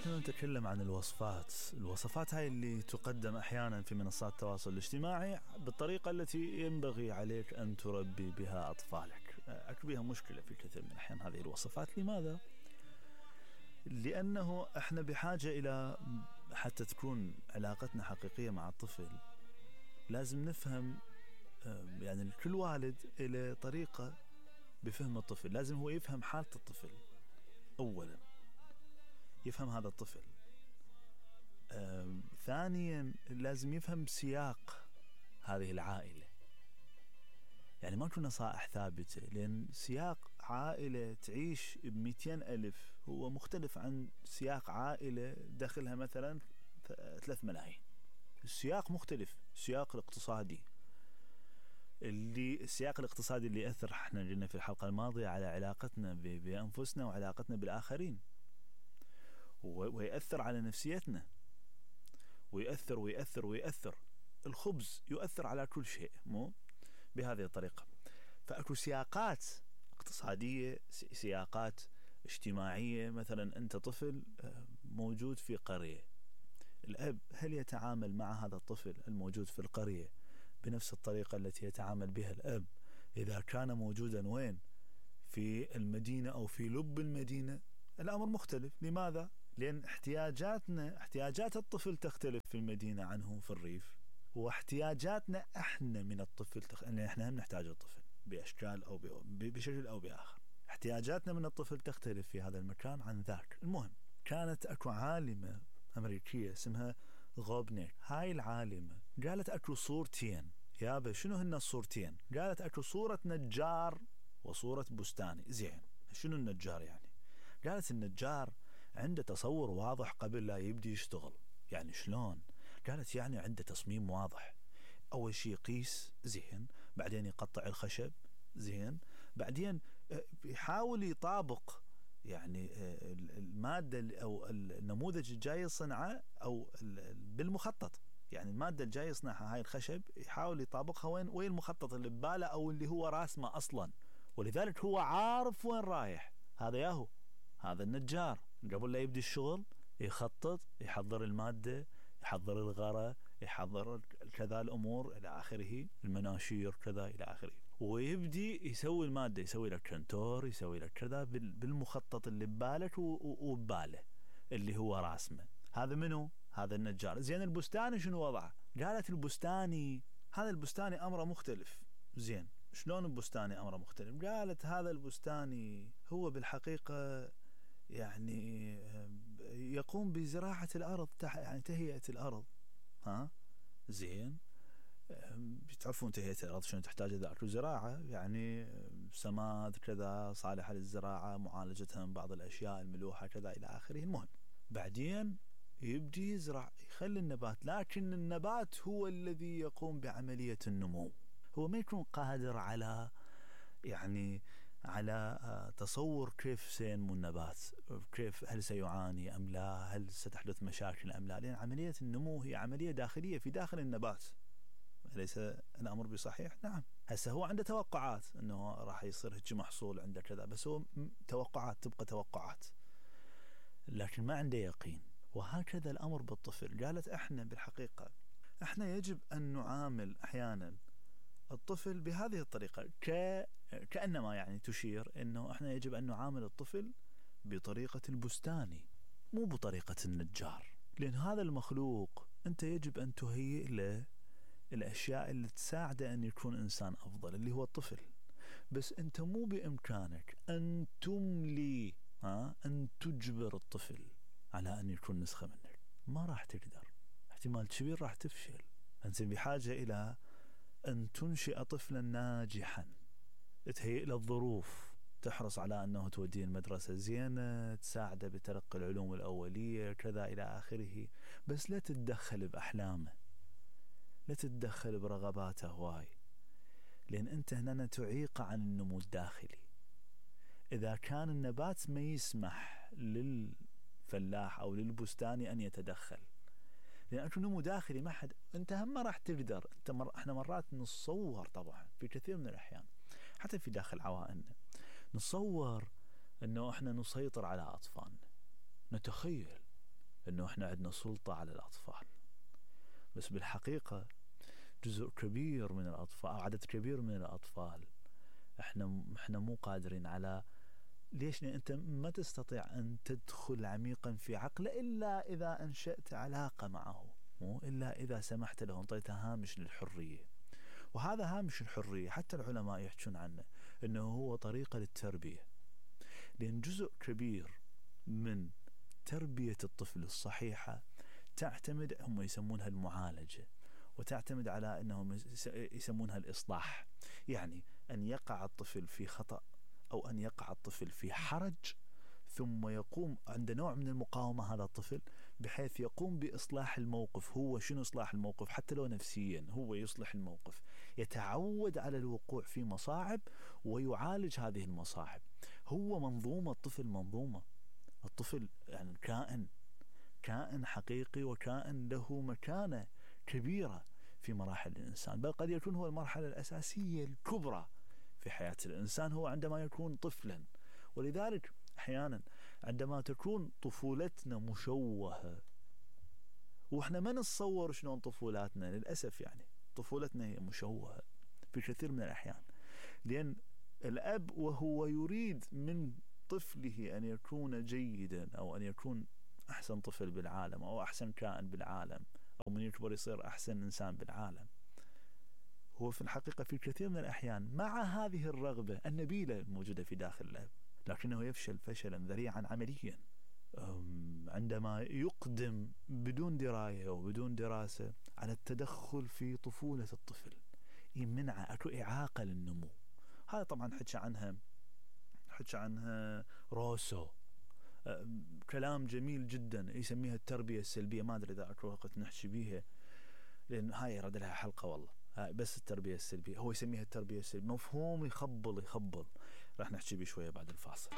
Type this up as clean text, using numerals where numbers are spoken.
نحن نتكلم عن الوصفات هاي اللي تقدم أحيانا في منصات التواصل الاجتماعي بالطريقة التي ينبغي عليك أن تربي بها أطفالك. أكو بها مشكلة في كثير من الأحيان هذه الوصفات. لماذا؟ لأنه احنا بحاجة إلى حتى تكون علاقتنا حقيقية مع الطفل لازم نفهم، يعني كل والد إلى طريقة بفهم الطفل. لازم هو يفهم حالة الطفل أولا، يفهم هذا الطفل. ثانيا لازم يفهم سياق هذه العائلة. يعني ما تكون نصائح ثابتة، لأن سياق عائلة تعيش ب200,000 هو مختلف عن سياق عائلة داخلها مثلا 3 ملايين. السياق مختلف. السياق الاقتصادي، السياق الاقتصادي اللي يأثر، احنا قلنا في الحلقة الماضية على علاقتنا بأنفسنا وعلاقتنا بالآخرين، ويأثر على نفسيتنا، ويأثر. الخبز يؤثر على كل شيء، مو بهذه الطريقة. فأكو سياقات اقتصادية، سياقات اجتماعية. مثلا أنت طفل موجود في قرية، الأب هل يتعامل مع هذا الطفل الموجود في القرية بنفس الطريقة التي يتعامل بها الأب إذا كان موجودا وين؟ في المدينة أو في لب المدينة؟ الأمر مختلف. لماذا؟ لأن احتياجات الطفل تختلف في المدينة عنه في الريف، واحتياجاتنا احنا من الطفل لأن احنا هم نحتاج الطفل بأشكال أو بشكل أو بآخر. احتياجاتنا من الطفل تختلف في هذا المكان عن ذاك. المهم، كانت أكو عالمة أمريكية اسمها غوبنيك. هاي العالمة قالت أكو صورتين. يابا شنو هن الصورتين؟ قالت أكو صورة نجار وصورة بستاني. زين، شنو النجار يعني؟ قالت النجار عنده تصور واضح قبل لا يبدي يشتغل. يعني شلون؟ قالت يعني عنده تصميم واضح. أول شيء يقيس، زين، بعدين يقطع الخشب، زين، بعدين يحاول يطابق يعني المادة أو النموذج الجاي يصنعه أو بالمخطط. يعني المادة الجاي يصنعها هاي الخشب يحاول يطابقها وين المخطط اللي بباله أو اللي هو راسمه أصلا، ولذلك هو عارف وين رايح. هذا النجار قبل لا يبدي الشغل يخطط، يحضر المادة، يحضر الغرة، يحضر كذا الأمور إلى آخره، المناشير كذا إلى آخره، ويبدي يسوي المادة، يسوي لك كنتور، يسوي لك كذا بالمخطط اللي ببالك وبباله اللي هو راسمه. هذا منو؟ هذا النجار. زين، البستاني شنو وضعه؟ قالت هذا البستاني أمره مختلف. زين، شلون البستاني أمره مختلف؟ قالت هذا البستاني هو بالحقيقة يعني يقوم بزراعة الأرض، يعني تهيئة الأرض. زين، بتعرفون تهيئة الأرض شنو تحتاج ذاك زراعة، يعني سماد كذا صالحة للزراعة، معالجتها من بعض الأشياء الملوحة كذا إلى آخره. المهم، بعدين يبدي يزرع، يخلي النبات، لكن النبات هو الذي يقوم بعملية النمو. هو ما يكون قادر على تصور كيف سينمو النبات، كيف، هل سيعاني أم لا، هل ستحدث مشاكل أم لا، لأن عملية النمو هي عملية داخلية في داخل النبات. أليس الأمر بصحيح؟ نعم. هسه هو عنده توقعات أنه راح يصير هيك محصول عنده كذا، بس هو توقعات، تبقى توقعات، لكن ما عنده يقين. وهكذا الأمر بالطفل. قالت احنا بالحقيقة احنا يجب أن نعامل أحيانا الطفل بهذه الطريقة، كأنما يعني تشير أنه احنا يجب أن نعامل الطفل بطريقة البستاني، مو بطريقة النجار. لأن هذا المخلوق أنت يجب أن تهيئ له الأشياء اللي تساعده أن يكون إنسان أفضل، اللي هو الطفل. بس أنت مو بإمكانك أن تملي، أن تجبر الطفل على أن يكون نسخة منك. ما راح تقدر، احتمال كبير راح تفشل. أنت بحاجة إلى أن تنشئ طفلا ناجحا، تهيئ له الظروف، تحرص على أنه توديه المدرسة زينة، تساعده بتلقي العلوم الأولية كذا إلى آخره. بس لا تتدخل بأحلامه، لا تتدخل برغباته هواي، لأن أنت هنا تعيق عن النمو الداخلي. إذا كان النبات ما يسمح للفلاح أو للبستاني أن يتدخل، لأن أكو نمو داخلي ما حد، أنت هم ما راح تقدر. احنا مرات نتصور، طبعا في كثير من الأحيان حتى في داخل عوائلنا نتصور أنه احنا نسيطر على أطفالنا، نتخيل انه احنا عندنا سلطة على الاطفال، بس بالحقيقة جزء كبير من الاطفال او عدد كبير من الاطفال احنا مو قادرين على. ليش؟ لان انت ما تستطيع ان تدخل عميقا في عقله الا اذا انشأت علاقة معه، مو الا اذا سمحت له، انطيته هامش للحرية. وهذا هامش الحرية حتى العلماء يحجون عنه انه هو طريقة للتربية، لان جزء كبير من تربية الطفل الصحيحة تعتمد، هم يسمونها المعالجة، وتعتمد على انهم يسمونها الاصلاح. يعني ان يقع الطفل في خطأ او ان يقع الطفل في حرج، ثم يقوم عند نوع من المقاومة هذا الطفل بحيث يقوم بإصلاح الموقف. هو شنو إصلاح الموقف؟ حتى لو نفسيا هو يصلح الموقف، يتعود على الوقوع في مصاعب ويعالج هذه المصاعب. هو منظومة، الطفل منظومة، الطفل يعني كائن حقيقي وكائن له مكانة كبيرة في مراحل الإنسان، بل قد يكون هو المرحلة الأساسية الكبرى في حياة الإنسان هو عندما يكون طفلا. ولذلك أحيانا عندما تكون طفولتنا مشوهة، وإحنا ما نتصور شلون طفولاتنا، للأسف يعني طفولتنا هي مشوهة في كثير من الأحيان، لأن الأب وهو يريد من طفله أن يكون جيدا أو أن يكون أحسن طفل بالعالم أو أحسن كائن بالعالم أو من يكبر يصير أحسن إنسان بالعالم، هو في الحقيقة في كثير من الأحيان مع هذه الرغبة النبيلة الموجودة في داخل الأب، لكنه يفشل فشلا ذريعا عمليا عندما يقدم بدون دراية وبدون دراسة على التدخل في طفولة الطفل، يمنع أكو إعاقة للنمو. هذا طبعا حكى عنها روسو، كلام جميل جدا يسميها التربية السلبية. ما أدري إذا أكو وقت نحكي بيها لأن هاي يرد لها حلقة والله، هاي بس التربية السلبية، هو يسميها التربية السلبية، مفهوم يخبل. راح نحكي بيه شوية بعد الفاصل.